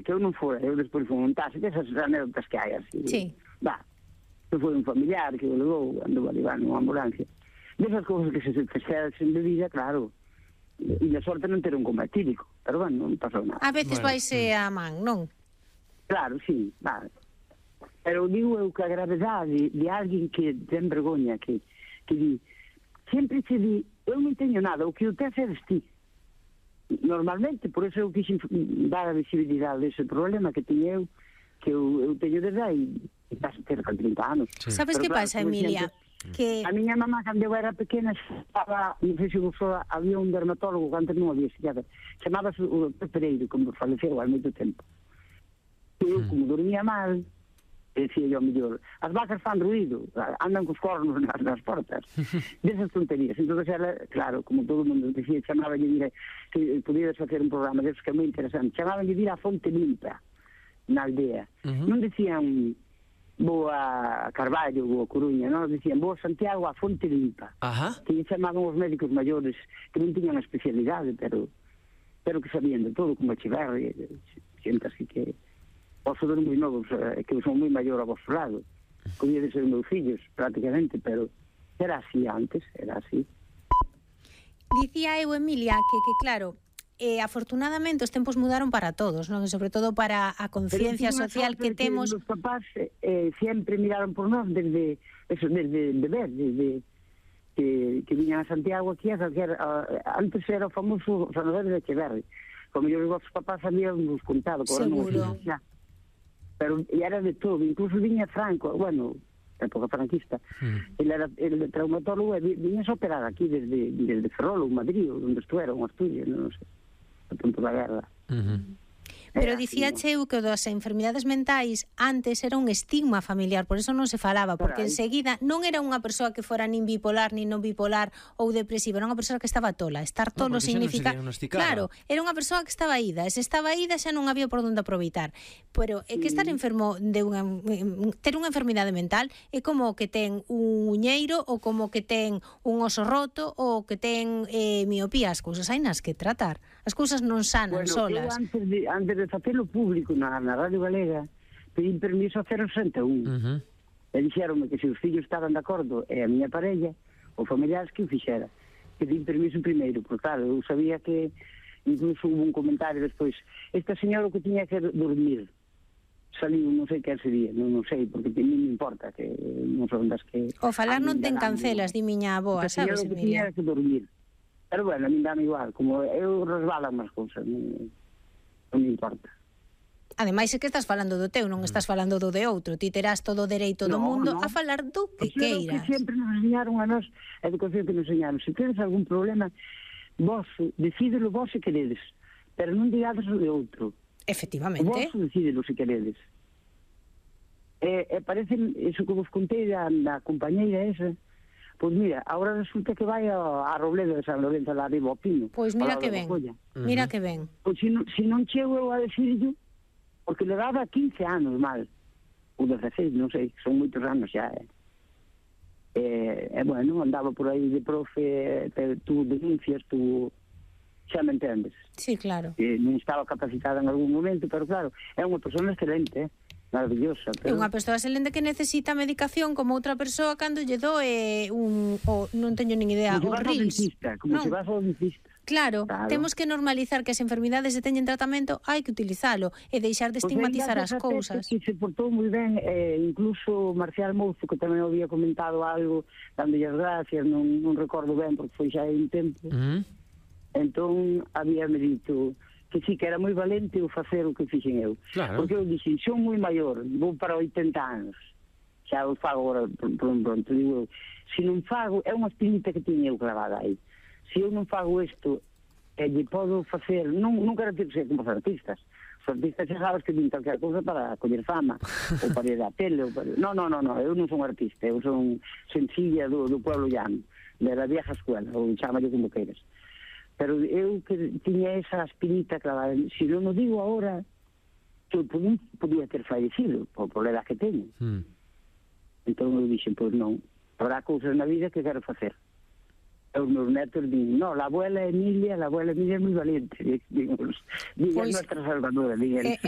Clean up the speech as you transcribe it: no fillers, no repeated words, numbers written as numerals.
día que eu non fora, eu despois fui un taxi, que esas anécdotas que hai así. Sí. Que foi un familiar que o levou, andou a levar nunha ambulancia. Desas cousas que se festean sen bebida, claro, e na sorte non ter un coma etílico, pero bueno, non pasou nada. A veces vaise a man, non? Claro, sí, vale. Pero digo eu que a gravedade de alguén que ten vergoña, que di, sempre se di, eu non teño nada, o que eu te eres ti. Normalmente, por eso eu quixen dar a visibilidade dese problema que tiña eu, que eu teño desde aí, casi cerca de 30 anos. Sí. Sabes que pasa, Emilia? Que a miña mamá, cando eu era pequena, estaba, non sei se gustou, había un dermatólogo que antes non había siquiera, chamábase o Dr. Pereiro, como faleceu hai moito tempo. E eu, como dormía mal, decía yo, mellor, as vacas fan ruido, andan cos cornos nas portas, desas tonterías. Entón, ela, claro, como todo o mundo decía, chamábanlle dir que podías facer un programa desos que é moi interesante, chamábanlle dir a Fonte Limpa na aldea. Non decían vou a Carballo ou a Coruña, non? Dicían vou a Santiago a Fonte Limpa. Que chamaban os médicos maiores que non tiñan especialidade, pero que sabían de todo, como Echeverri, xente así que vos sodes moi novos, que son moi maior a vosso lado, podía de ser meus fillos prácticamente, pero era así antes, era así. Dicía eu, Emilia, que claro, afortunadamente os tempos mudaron para todos, non? E sobre todo para a conciencia social que temos. Os papás sempre miraron por nós desde ver, desde que viñan a Santiago aquí, antes era o famoso Sanodorio de Echeverri, como os vosos papás habían nos contado. Seguro. Pero era de todo, incluso viña Franco, bueno, época franquista, el traumatólogo viña a operar aquí desde Ferrol, en Madrid, onde estuveron, Asturias, non sei, a punto da guerra. Pero dicía eu que das enfermidades mentais antes era un estigma familiar, por eso non se falaba, porque enseguida non era unha persoa que fora nin bipolar, nin non bipolar ou depresiva, era unha persoa que estaba tola. Estar tolo significa... Claro, era unha persoa que estaba ida, e se estaba ida xa non había por onde aproveitar. Pero é que estar enfermo de ter unha enfermidade mental é como que ten un uñeiro ou como que ten un oso roto ou que ten miopía. As cousas hai nas que tratar. As cousas non sanan solas. Eu antes de facelo público na Radio Galega, pedín permiso a 061. E dixeronme que se os fillos estaban de acordo e a miña parella, ou familiares, que o fixera. Pedín permiso primeiro, porque claro, eu sabía que incluso hubo un comentario despois, esta señora o que tiña que dormir. Saliu, non sei que sería, non sei, porque non me importa, que non son das que... O falar non ten cancelas, di miña aboa, sabes, Emilia? Esta señora o que tiña que dormir. Pero bueno, a mí dame igual, como eu resbalan máis cousas, non me importa. Ademais, é que estás falando do teu, non estás falando do de outro. Ti terás todo o dereito do mundo a falar do que queiras. Que sempre nos enseñaron a nós, a educación que nos enseñaron. Se tedes algún problema, vos decídelo vos se queredes, pero non digades o de outro. Efectivamente. Vos decídelo se queredes. Parece, eso que vos contei da compañeira esa, pois mira, agora resulta que vai a Robledo de San Lorenzo, lá arriba ao Pino. Pois mira que ben, mira que ben. Pois se non chego eu a decirlo, porque le daba 15 anos mal, ou 16, non sei, son moitos anos xa. Bueno, andaba por aí de profe, tu denuncias, xa me entendes. Sí, claro. Non estaba capacitada en algún momento, pero claro, é unha persona excelente, maravillosa. É unha persoa excelente que necesita medicación como outra persoa cando lle doe non teño nin idea, o RILS. Como se vas ao dentista. Claro, temos que normalizar que as enfermidades se teñen tratamento, hai que utilizalo e deixar de estigmatizar as cousas. Que se portou moi ben, incluso Marcial Mouzo, que tamén había comentado algo, dándolle as gracias, non recordo ben, porque foi xa un tempo. Entón, habíame dito que sí, que era moi valente o facer o que fixen eu. Porque eu dixen, son moi maior, vou para 80 anos. Xa o fago agora pronto, digo, se non fago, é unha espinita que tiña eu clavada aí. Se eu non fago isto, lle podo facer, non quero ter que ser como os artistas. Os artistas xa sabes que din calquera cousa para coller fama, ou para ir a tele, ou para... Non, eu non son artista, eu son sencilla do pueblo llano, da vieja escuela, ou chámalle como queiras. Pero eu que tiña esa espinita clavada, se eu non digo agora, que eu podía ter fallecido, por edad que teño. Entón eu dixen, pois non, habrá cousas na vida que quero facer. E os meus netos din, no, la abuela Emilia é moi valiente, digan nuestra salvadora, digan.